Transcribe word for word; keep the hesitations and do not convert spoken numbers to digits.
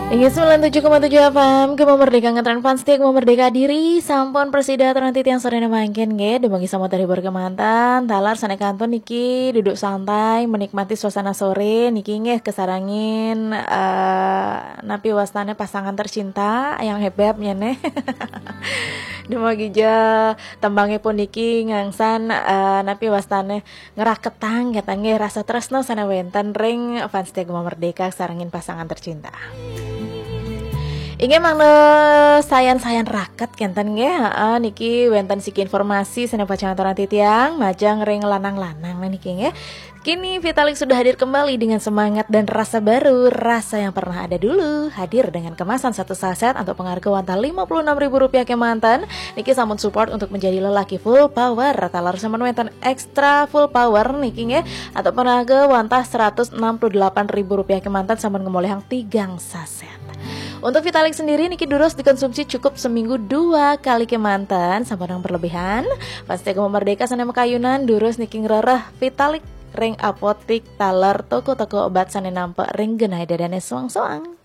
Inggih, sembilan tujuh koma tujuh F M, Gema Merdeka, ngetren fans setia Gema Merdeka diri, sampun prasida atur titiang sorene mangkin nggih, dumugi sampun terhibur kemanten, taler sane kantun niki duduk santai menikmati suasana sore niki nggih, kesarengin eh napi wastane pasangan tercinta yang hebeb nyene. Dumugi ja tembangipun niki ngangsan eh napi wastane ngraketang kenten nggih rasa tresno sane wenten ring fans setia Gema Merdeka sarengin pasangan tercinta. Inggih mangda sayan-sayan raket kenten nggih. Heeh, niki wenten siki informasi sane pacang aturang titiang majeng ring lanang-lanang niki nggih. Kini Vitalik sudah hadir kembali dengan semangat dan rasa baru, rasa yang pernah ada dulu, hadir dengan kemasan satu saset untuk pengharga wantah lima puluh enam ribu rupiah kemanten. Niki sampun support untuk menjadi lelaki full power, taler sampun wenten extra full power niki nggih, atau pengharga wantah seratus enam puluh delapan ribu rupiah kemanten sampun ngemolihang tigang saset. Untuk Vitalik sendiri niki durus dikonsumsi cukup seminggu dua kali kemanten, sampun yang berlebihan. Fans setia Gema Merdeka sane makayunan durus niki ngrereh Vitalik ring apotik taler toko-toko obat sane nampek ring genah dadane soang-soang.